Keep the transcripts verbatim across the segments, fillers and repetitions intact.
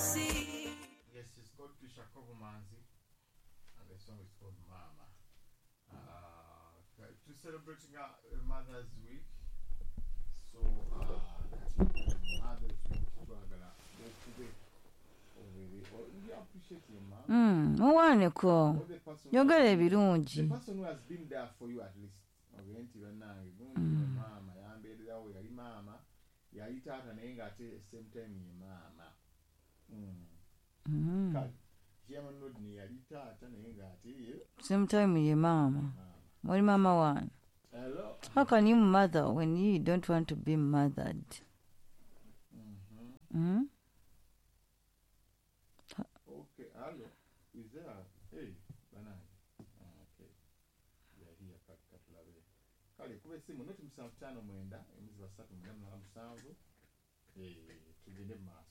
Nsi. Yes, it's called Trisha Kovumanzi, and the song is called Mama. Uh, to celebrating uh, Mother's Week, so uh, Mother's Week, twagala okube obere, or you appreciate your mom. Mm, muwaneko Or the person who yogera has- ebirungi. The person who has been there for you at least. Ogende nti bannange gundi maama yambeererawo, yali maama, yali taata, naye ng'ate same time ye maama. Mm. Mm. Kale Chairman Rodney yali taata naye ng'ate ye Same time ye maama. Maama. Muli maama wange. Hello. How can you mother when you don't want to be mothered? Mhm. Mm? Okay, hello. Is there a, hey, bannange. Ah, okay. We are here, kale katulabe. Kale kuba essimu noti musanvu ttaano mwenda emiziba ssatu mwenda munaana musanvu, eh, tugende mu maaso.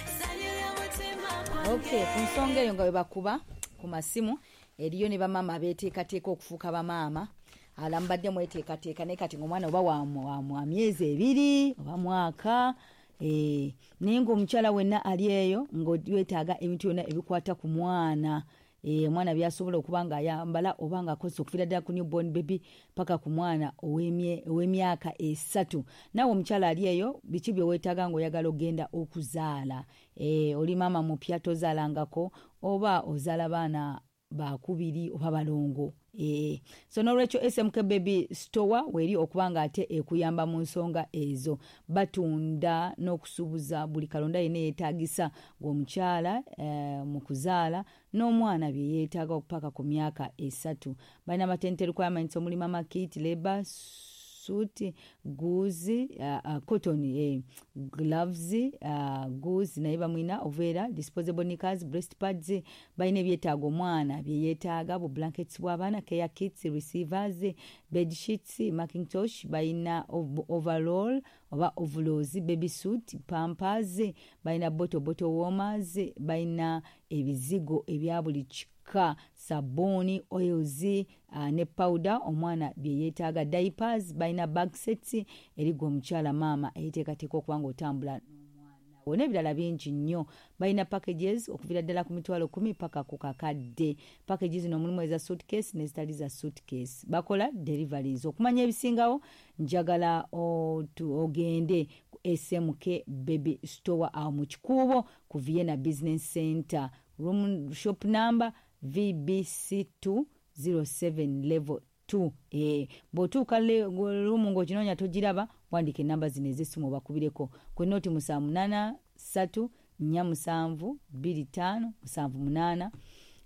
Ssanyu ly'omutima gwange. Okay, ku nsonga eyo nga bwe bakuba ku masimu, eriyo ne bamaama abeeteekateeka okufuuka bamaama. Ala mubadde mweteekateeka, naye kati ng'omwana oba wa wa wa myezi ebiri oba mwaka, eh, naye ng'omukyala wenna ali eyo ng'weetaaga ebintu byonna ebikwata ku mwana, eh, omwana by'asobola okuba ng'ayambala oba ng'akozesa, okuviira ddala ku newborn baby paka ku mwana ow'emye- ow'emyaka esatu. Naawe omukyala ali eyo, biki bye weetaaga ng'oyagala ogenda okuzaala? Eh, oli maama mupya tozaalangako, oba ozaala baana bakubiri oba balongo. Eh, so n'olwekyo S M K Baby Store weeri okuba nga ate ekuyamba mu nsonga ezo. Batunda n'okusuubuza buli kalonda yenna yeetaagisa ng'omukyala, eh, mu kuzaala n'omwana bye yeetaaga okupaka ku myaka esatu. Balina maternity requirements omuli mama kit, labour suit, gauze, uh, uh, cotton, eh, gloves, uh, gauze naye bamwina oveera, disposable knickers, breast pads. Balina ebyetaago omwana bye yeetaaga, bu blankets bw'abaana, care kits, receivers, bed sheets, mackintosh, balina ov- overall oba overalls, baby suit, pampers, balina bottle bottle warmers, balina ebizigo ebya buli kika, sabbuuni, oils, uh, ne powder omwana bye yeetaaga, diapers, balina bag sets erigwa omukyala maama eyeteekateeka okuba nga otambula n'omwana wo n'ebirala bingi nnyo. Balina packages okuviira ddala ku mitwalo kumi paka ku kakadde. Packages zino mulimu eza suitcase n'ezitali za suitcase. Bakola deliveries. Okumanya ebisingawo, njagala otu- ogende ku S M K Baby Store awo mu Kikuubo ku Vienna Business Center, room shop number V B C two zero seven, level two. Eh, bw'otuuka ruumu ng'okinoonya togiraba, wandika enamba zino ez'essimu obakubireko ku nooti musanvu munaana ssatu nnya musanvu bbiri ttaano musanvu munaana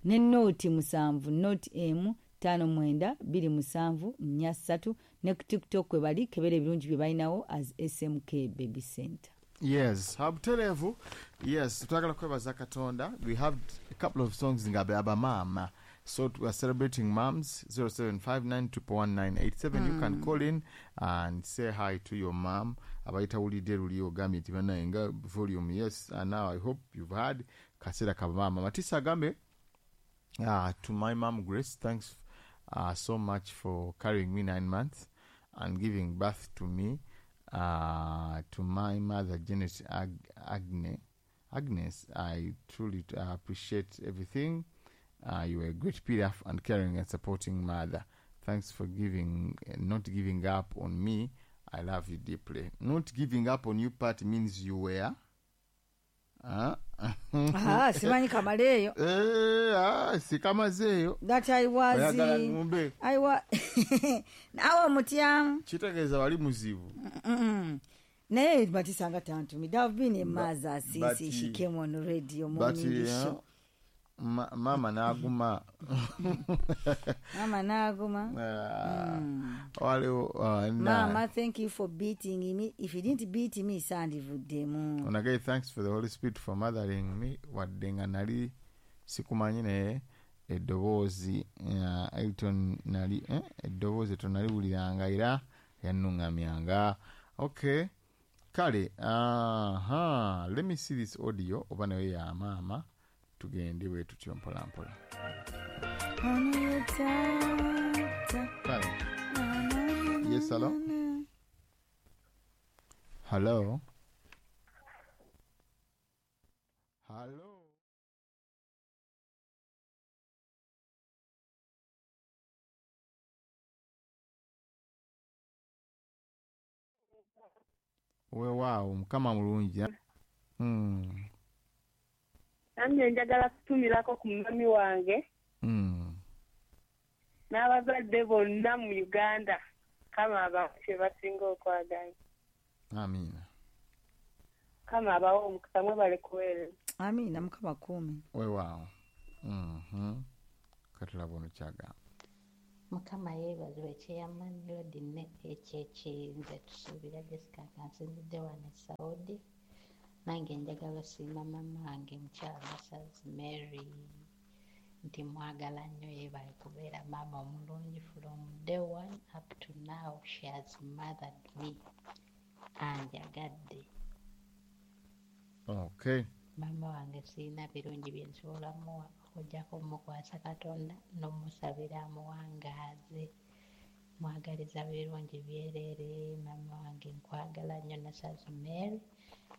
ne nooti musanvu nooti emu ttaano mwenda bbiri musanvu nnya ssatu. Ne ku TikTok kwe bali, kebera ebirungi bye balinawo as S M K Baby Center. Yes, abutereevu. Yes, twagala kwebaza Katonda. We have a couple of songs nga abamaama, so we are celebrating moms. zero seven five nine two one nine eight seven, you can call in and say hi to your mom. Abayitawulidde luli ogambye nti banaye nga volume. Yes, and now I hope you've had kaseera kabamaama. Matisa agambe, uh, to my mom Grace, thanks uh, so much for carrying me nine months and giving birth to me. Uh, to my mother Janet Ag- Agne, Agnes, I truly uh, appreciate everything. Uh, you were a great pillar and caring and supporting mother. Thanks for giving, not giving up on me. I love you deeply. Not giving up on you part means you were. Uh? Ah, simanyi kamaleeyo. Eh, ah, sikamazeeyo. That I was Oyagala ngumbe. I wa naawe omutyamu. Kitegeeza wali muzibu. Mm-mm. Naye Matisa nga tantumidde. I've been a mother since but, she came on radio but morning yeah, show. ma, mama n'aguma. Mama n'aguma. Ah, waliwo uh, na- Mama, thank you for beating me. If you didn't beat me, sandivuddemu. Onagaye, thanks for the Holy Spirit for mothering me, wadde nga nali sikumanyi, naye eddoboozi uh, Elton nali, eh, eddoboozi tonaliwuliranga era yannuŋŋamyanga. Okay, kale, aha, let me see this audio oba nayo ya maama, tugende bwe tutyo mpola mpola. Ono ye taata. Kale, yes, hello, hello. Hello. Weewaawo, Mukama mulungi. Mm. Nange njagala kutumirako ku mummy wange Mm. n'abazadde bonna mu Uganda. Kama abawe kye basinga okwagala. Amiina. Kama abawe omukisa, mwebale kuweereza. Amiina, Mukama akuume. Weewaawo. Mhm. Katulaba ono kyagamba. Mukama yeebazibwe, Chairman Lord ne ekyekiyinza tusuubira Jessica kansinzidde wano e Saudi. Nange njagala osiima maama wange mukyala Masazi Mary nti mwagala nnyo, yeebale kubeera maama omulungi from day one up to now she has mothered me, anjagadde. Okay. Maama wange sirina birungi bye nsobola muwa okuggyako omukwasa Katonda n'omusabira amuwangaaze. Mwagaliza birungi byereere. Maama wange nkwagala nnyo, Nasazi Mary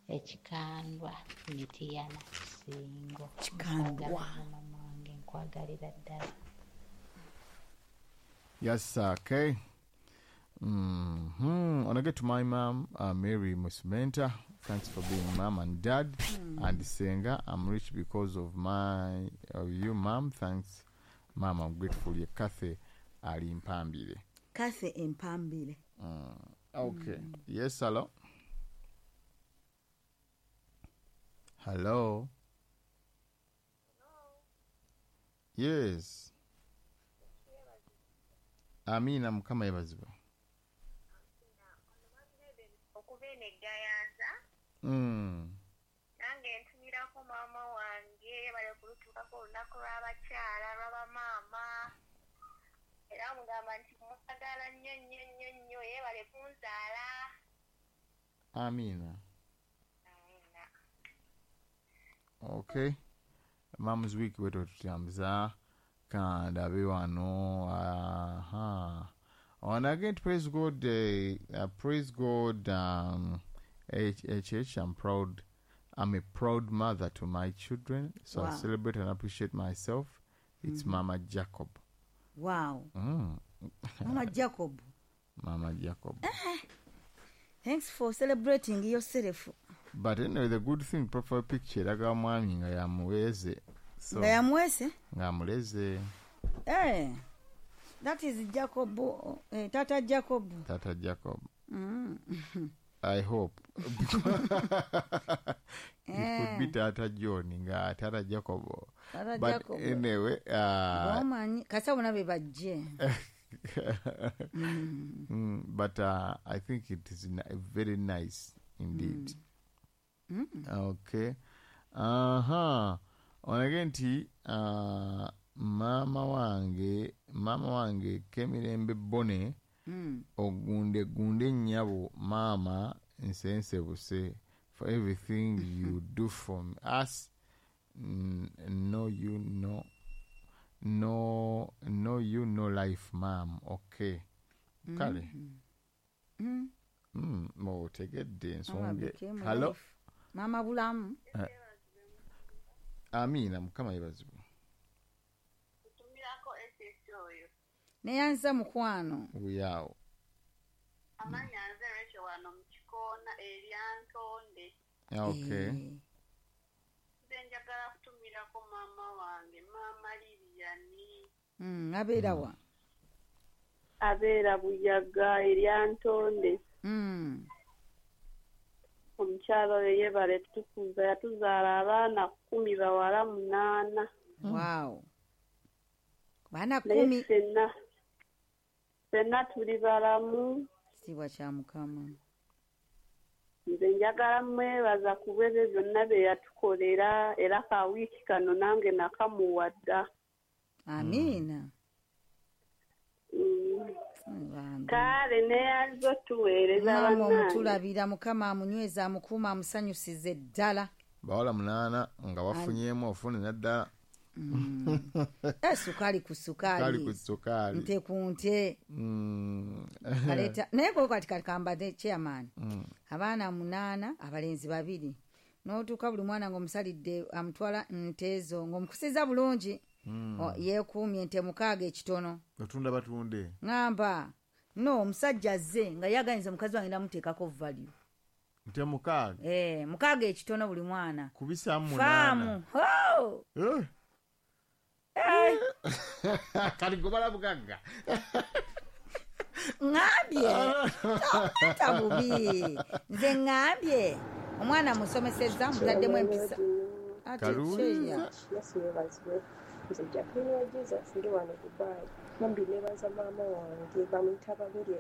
ekikandwa Mitiyana Kisingo. Kikandwa. Nkwagala nnyo maama wange, nkwagalira ddala. Yes, sir. Okay. Mm-hmm. I wanna get to my mom, uh, Mary Musmenta. Thanks for being mom and dad. Mm. And Senga, I'm rich because of my of you, mom. Thanks, mom. I'm grateful. Ye Kathy Ali Mpambile. Kathy Mpambile. Mm. Okay. Mm. Yes, hello. Hello. Hello. Yes. Amina, Mukama yebazibwe. Mm. Nange ntumirako maama wange bale kulutuukako olunaku lw'abakyala lw'abamaama, era mugamba nti mwagala nnyo nnyo nnyo nnyo, yeebale kunzaala. Amina. Amina. Okay. Mom's Week wetu tutambuza kandabe wano. Aha. And again, praise God, uh, praise God, um, H H H, I'm proud. I'm a proud mother to my children, so Wow. I celebrate and appreciate myself. It's mm-hmm. Mama Jacob. Wow. Mm. Mama Jacob. Mama Jacob. Eh. Thanks for celebrating yourself. But anyway, the good thing, profile picture, eraga mwami nga yamuweze. So, nga yamuweze? Nga amuleze. Eh. That is Jacob, eh, Tata Jacob. Tata Jacob. Mm. I hope. It could be Tata John nga Tata Jacob. Tata But Jacob. Anyway, uh, Omanyi kasa bona be bajje. mm. Mm, but uh, I think it is very nice indeed. Mm. Mm. Okay. Uh-huh. On again ti uh, mama wange mama wange Kemirembe Bone. Mm. Ogunde gunde nyabo mama nsensebuse for everything you do for us. No you no no no you no life mom. Okay. Kale. Mm. Mm, mo tegedde ensonge. Hello. Mama bulamu. Uh, Amina, Mukama yebazibwe. Tumirako S S oyo. Neyanza mukwano. Uyao. Amanya nze Rachel wano mu kikoona eryantonde. Okay. Nze njagala kutumirako mama wange, Mama Lilian. Mm, abeera wa? Abeera Buyaga eryantonde. Mm. Omukyala oyo yeebale tukuza, yatuzaala abaana kkumi bawala munaana. Wow. Baana kkumi. Ffenna ffenna tuli balamu. Kitiibwa kya Mukama. Nze njagala mwebaza ku bw'ebyo byonna bye yatukolera, era ka wiiki kano nange nakamuwa dda. Amiina. Mm. Kale neyanza otuweereza Maama bannange. omutulabira, Mukama amunyweza, amukuuma, amusanyusize ddala. Bawala munaana nga bafunyeemu ofune naddala. Mm. Eh, sukaali ku sukaali. Sukaali ku sukaali. Nte ku nte. Mm. Kaleeta naye ko kati kati kambadde chairman. Mm. Abaana munaana, abalenzi babiri. N'otuuka buli mwana ng'omusalidde amutwala nte zo, ng'omukusiza bulungi. O, yeekuumye ente mukaaga ekitono. Otunda batunde. Ŋŋamba no omusajja azze nga yaganiza mukazi wange namuteekako value. Nte mukaaga? Eh, mukaaga ekitono buli mwana. Kubisaamu munaana. Faamu. Ho! Eh. Eh, kati gobala bugagga. Ŋŋambye ta bubi, nze ŋŋambye omwana musomesezza, mutaddemu empisa. Ate Kalungi. kyeya. Yesu yeebazibwe. Nze Jacqueline wa Jesus, ndi wano Dubai. Bambi neebaza maama wange, bamuyita Babirye,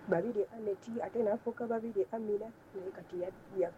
Babirye Aneti, ate n'afuuka Babirye Amina, naye kati ya- ya-